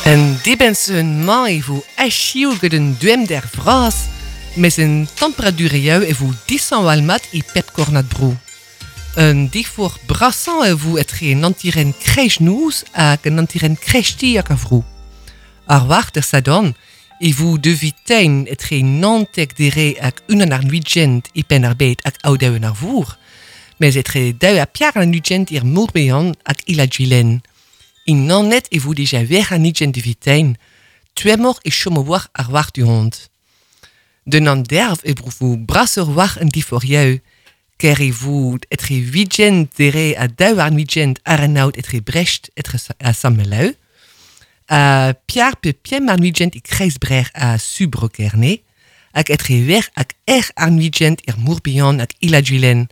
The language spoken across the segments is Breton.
En dibenn-sizhun-mañ e vo achiv gant un dommder vras mes an temperadurioù e vo dishañval-mat e pep kornad-bro. Un diforc'h brasañ e vo etre an hanterenn kreiznoz hag an hanterenn kreisteiz ag ar vro. Ar war d'ar Sadorn e vo devitein etre 19 dere hag 21 e Penn-ar-Bed hag Aodoù-an-Arvor, mes etre 2 ha 24 er Morbihan hag Il-ha-Gwilen. In Naoned e vo dija 26 devitein, tommoc'h e chomo war ar war du-hont. D'un anderv e vo brasoc'h war an diforc'hioù, ker e vo etre 20 dere ha 22 àr an aod etre Brest etre ha Sant-Maloù, ha piar pe pemp àr-ugent e Kreiz-Brec'h ha Su Bro-Kerne, hag etre wec'h hag ec'h àr-ugent er Mor-Bihan hag Il-ha-Gwilen.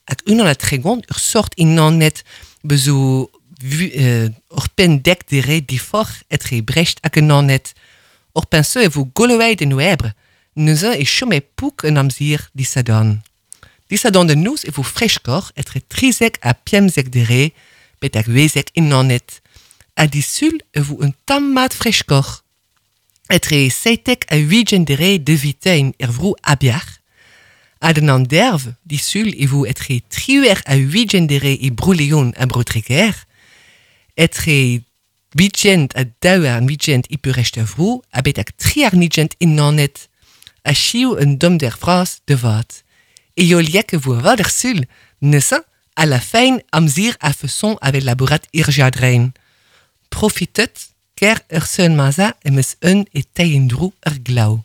Hag 31 ur sort in Naoned bezo oc'hpenn dek dere diforc'h etre Brest hag an Naoned. Oc'hpenn se e vo goloet en oebr, neuze e chome pouk an amzer disadorn. Disadorn da noz e vo freskoc'h etre 13 ha 15 dere betek wezek in Naoned. Ha disul e vo un tamm mat freskoc'h. Etre 17 ha 20 dere devitein er vro Abiac'h. Ha d'an anderv, disul e vo etre 18 ha 20 dere e Bro-Leon ha Bro-Treger. Etre 20 ha 22 e peurrest ar vro ha betek 23 in Naoned. Achiv un dommder vras da vat. Heoliek e vo avat ar sul, neuze a la fin amzer a-feson a-vel labourat ir jardrin. Profitet, ker ur seul maza em eus un e teiñ en-dro ar glav.